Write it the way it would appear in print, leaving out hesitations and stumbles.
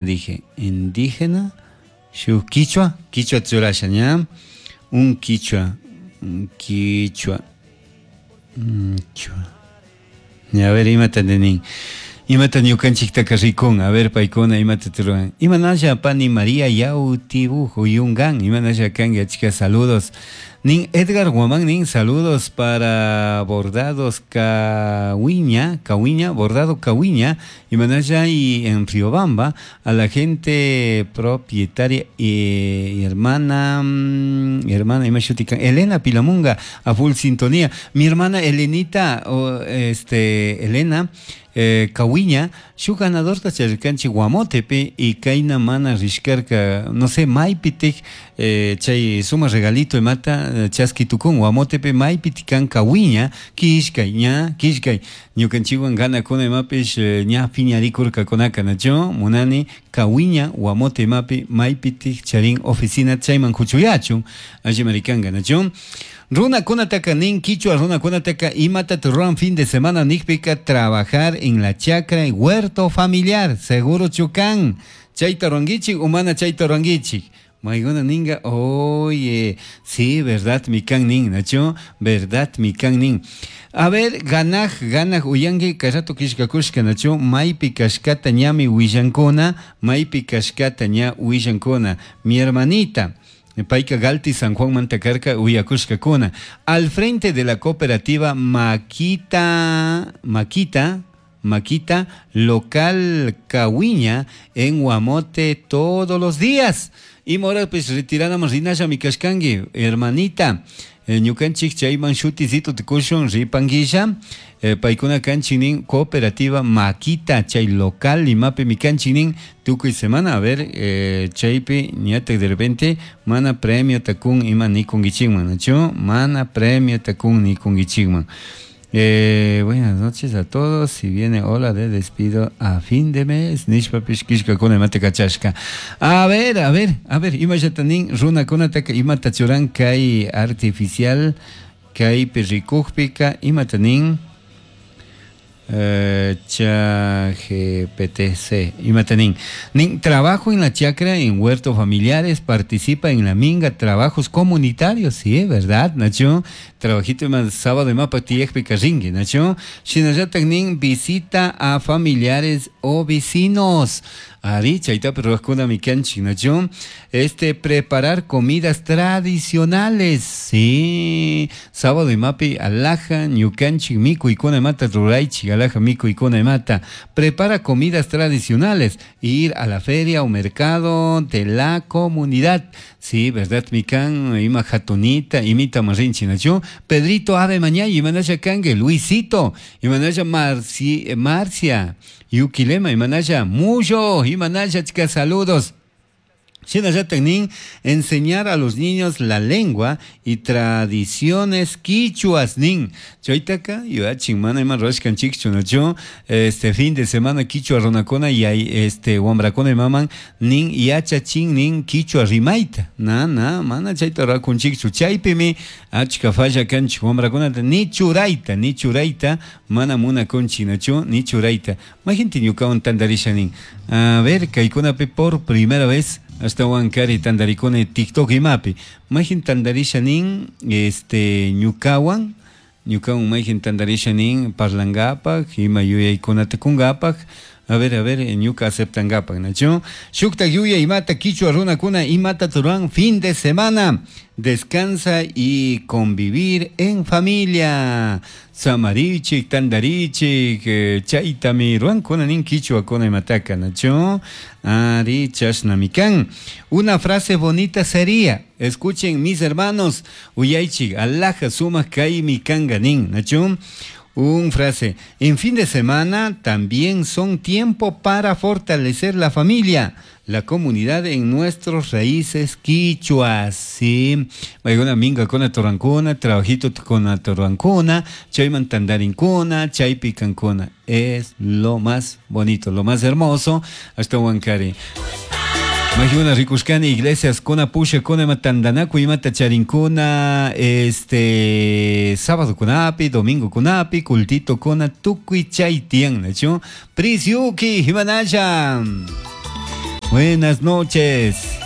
Dije, indígena, shu quichua, quichua churasha ña, un quichua, un quichua, un quichua. A ver, imata nin. Imata ñukanchiktaka rikun, a ver, paykuna imata ruran. Imanalla pani María Yautibu Yungan, imanalla kanki achka saludos. Nin Edgar Guamán nin saludos para bordados Cahuiña, Cahuiña, bordado Cahuiña, imanalla y en Riobamba, a la gente propietaria y hermana, hermana imashutika, Elena Pilamunga, a full sintonía. Mi hermana Elenita, o, Elena, Cahuiña, shu ganadorta charirkanchik Guamotepi y kayna mana rishkarka, no sé, maypitik, chay suma regalito imata chaski tukun Guamotepi maypitikan Cahuiña, kishkay, ña, kishkay, ñukanchikwan ganakuna imapish, ña piñarikurkakunaka, nachu, munani Cahuiña, Guamote imapi maypitik charin oficina chayman kuchuyachun, alli marikanka, nachu. Runakunataka nin quichua runakunataka imata ruran fin de semana nikpika trabajar en la chacra y huerto familiar, seguro chukan, chayta rurankichik o mana chayta rurankichik. Mayguna ninga, oye, sí, verdad mi kan nin, nachu, verdad mi kan nin. A ver, ganaj, ganaj uyanki, kay rato kishkakushka, nachu, maypi kashkata ñami willankuna, maypi kashkata ña willankuna. Mi hermanita, payka Galti San Juan mantakarka uyakushkakuna. Al frente de la cooperativa Maquita, Maquita, Maquita, local Cahuiña, en Guamote todos los días. Y mora, pues retiránamos rinasha mi kashkangi, hermanita. Ñukanchik chayman shutisito tukushun ripanguilla. Paykuna kanchinin cooperativa Maquita, chay local limapi mi kanchinin tukuy semana, a ver, chaypi ñatak de repente mana premio takun ima nikunkichikman, nachu? Mana premio takun nikunkichikman. Buenas noches a todos. Si viene ola de despido a fin de mes, nishpa pishkishkakuna imata kachashka. A ver, a ver, a ver, imallata nin runakunataka imata churan kay artificial kaypi rikukpika imata nin, ChatGPTC, imata nin. Nin, trabajo en la chacra, en huertos familiares, participa en la minga, trabajos comunitarios, sí, ¿verdad, Nacho? Trabajito más sábado y mapa tiyekpi karrinki, Nacho. Shinallatak nin, visita a familiares o vecinos. Ari, chaytapi ruwajkuna mi kanchik, Nacho. Preparar comidas tradicionales, sí. Sábado y mapi, alaja, ñukanchik, mikuykuna imata ruraychik, alaja, mikuykuna imata. Prepara comidas tradicionales, ir a la feria o mercado de la comunidad. Sí, ¿verdad, mikan? Ima jatunita, imita marrinchi, Nacho. Pedrito Ave Mañay, imanasha kangue, Luisito, imanasha Marcia, Yuquilema, imanasha Muyo, imanasha, chica, saludos. Shinallatak nin, enseñar a los niños la lengua y tradiciones quichuas nin. Chaytaka, yuachin mana ima ruwashkan chikchu, nachu? Este fin de semana quichua runakuna y hay, wambrakuna imaman nin yachachin nin quichua rimayta. Na, na, mana chayta ruwakun chikchu. Chaypimi achka falla kanchik wambrakunata ni churayta, ni churayta, mana munakunchik, nachu? Ni churayta. Majinti ñukawan tantarisha nin. A ver, kaykunapi por primera vez hasta Huancari tandarikuna TikTok imapi. Majin tandarisha nin, ñukawan, ñukawan majin tandarisha nin parlangapak, ima yuyaykunata kungapak. A ver, a ver, ñuka aceptangapak, nachu? Shukta yuya imata quichua runakuna imata turan fin de semana. Descansa y convivir en familia. Samarichik, tandarichik, chaytami ruankuna nin quichua kuna imataka, nachu? Ari, chashnamikan. Una frase bonita sería, escuchen mis hermanos, uyaychik, alaja sumak kaymi kanga nin, nachu? Un frase, en fin de semana también son tiempo para fortalecer la familia, la comunidad en nuestras raíces quichuas, sí. Una minga con la torrancona, trabajito con la torrancona, chayman tandarincona, chaypicancona. Es lo más bonito, lo más hermoso. Hasta Huancari. Majuna rikushkani iglesias kuna pusha kuna matandanaku imata charinkuna, sábado kunapi, domingo kunapi, cultito kuna, tukuy chay tiyan, nachu? Prisiuki, himanaya. Buenas noches.